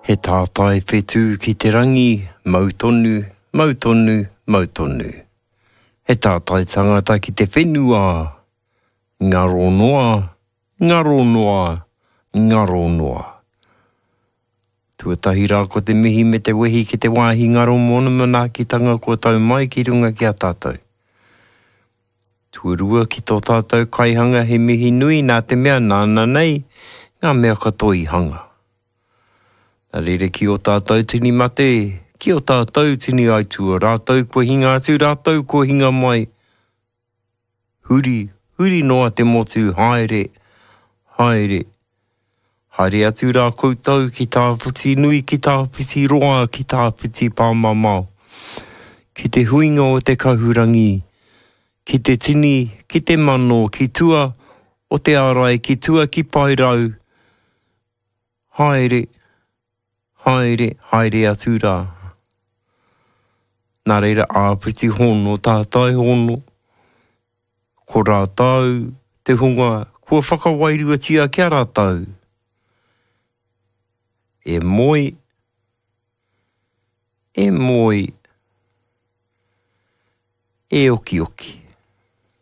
He tātai whetū ki te rangi, mau tonu, mau tonu, mau tonu. He tātai tangata ki te whenua, ngaro noa, ngaro noa, ngaro noa. Tuatahi rā ko te mihi me te wehi ki te wāhi ngaro mōna manaakitanga kua tau mai ki runga ki a tātou. Tuarua ki tō tātou kaihanga he mihi nui nā te mea nāna nei ngā mea katoa i hanga. Nā reira ki ō tātou tini mate, ki ō tātou tini aitua, rātou kua hinga atu, rātou kua hinga mai, huri, huri noa te motu, haere, haere, haere atu rā koutou ki tāwhiti nui, ki tāwhiti roa, ki tāwhiti pāmamao, ki te huinga o te kahurangi, ki te tini, ki te mano, ki tua o te ārai, ki tua ki Paerau, haere, haere, haere atu rā. Nā reira, āpiti hono, tātai hono, ko rātou te hunga kua whakawairuatia ki a rātou. E moe, e moe, e okioki.